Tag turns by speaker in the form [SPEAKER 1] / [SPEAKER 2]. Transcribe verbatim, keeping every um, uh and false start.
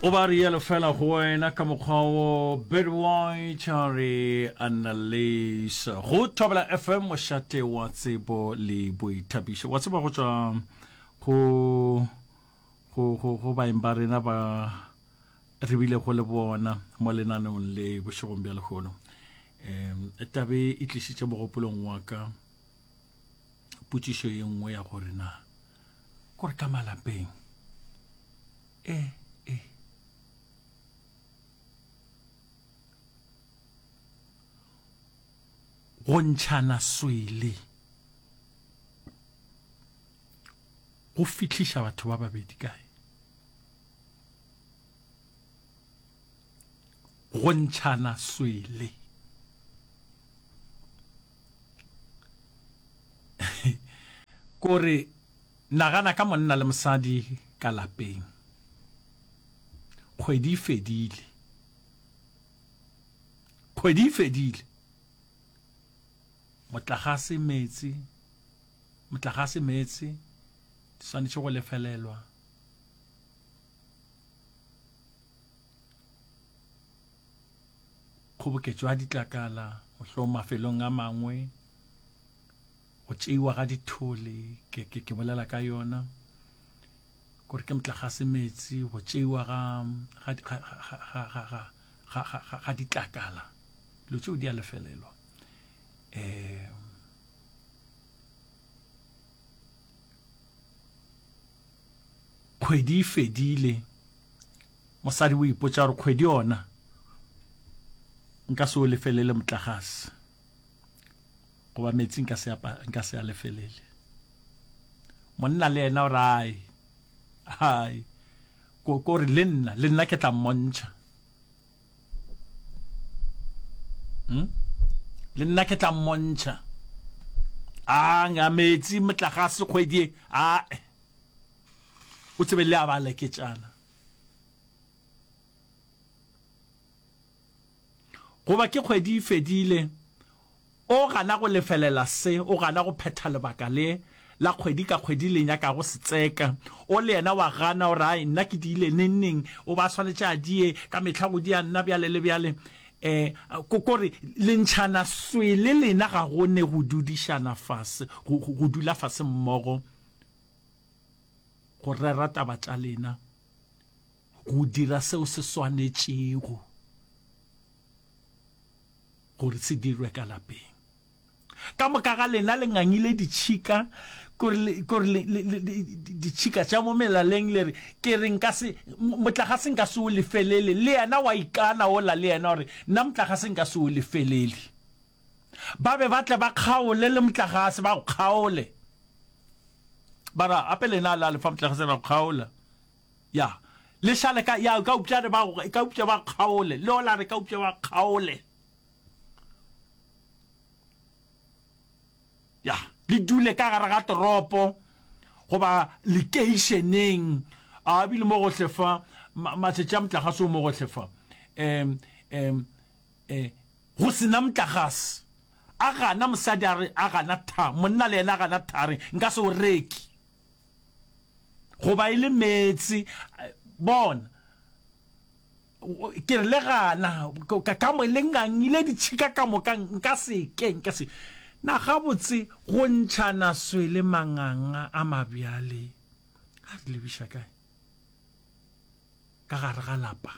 [SPEAKER 1] O ba rialo fela go wena ka mokgwa wo Betty White a re Annalisa go Thobela F M, mošate wa tsebo le boithabišo. Wa tseba, go tšwa go go go go baeng ba rena ba re bile go le bona mo lenaneong le bošegong bja lehono, um tabe e tlišitše mogopolong wa ka potšišo ye nngwe ya gore na kore ka malapeng e e go ntšhana swele go fihliša batho ba babedi kae? Go ntšhana swele kore nagana ka monna le mosadi ka lapeng, kgwedi e fedile, kgwedi e fedile, motlagase, meetse, motlagase, meetse di swanetše go lefelelwa, kgoboketšo ya ditlakala mohlomong mafelong a mangwe, go tšeiwa ga dithole, ke, ke, ke bolela ka yona kore ke motlagase, meetse, go tšeiwa ga ga ga ga ga ga ga ga ga ditlakala, dilo tšeo di a lefelelwa. um Kgwedi e fedile, mosadi o ipotša gore kgwedi yona nka se o lefelele motlagase goba metsi, nka se nka se a lefelele. Monna le yena o re ai ai, ko ko re le nna le nna ke tla mmontšha, hmm? Le nna ke tla mmontšha a nga metsi, motlagase kgwedi e a o tsebe le a ba leketšana. Goba ke kgwedi e fedile, o gana go lefelela se, o gana go phetha lebaka le la kgwedi ka kgwedi le nyakago setseka, o le yena wa gana, o re ai nna ke diile neng neng, o ba swanetše a die ka mehla go dia nna bjale le bjale. um kore le ntšhana swele lena, ga go ne go dudišana fase, go, go dula fase mmogo go rera taba tša lena, go dira seo se swanetšego gore se dirwe ka lapeng. Ka moka ga lena le ngangile ditšhika, kore kore ditšhika tša mo melaleng, le re ke re nka se motlagase nka se o lefelele, le yena wa ikana ola le yena gore nna motlagase nka se o lefelele. Ba be ba tle ba kgaole le motlagase, ba go kgaole, ba ra ape lena la lefa motlagase, ra go kgaola ya le šale ka ya ka upša re ba ka upša ba kgaole le ola re ka upša ba kgaole ya le dule ka gare ga toropo goba lekeišeneng, a bile mo gohle fa matšatši a motlagase o mo gohle fa, um um um go sena motlagase. A gana mosadi a re a gana tha, monna le yena a gana tha, re nka se o reke, goba e le meetse bona ke re le gana ka mo le ngangile ditšhika ka moka, nka se ke nka se na gabotse. Go ntšhana swele manganga a mabjale a re lebiša kae ka gare ga lapa?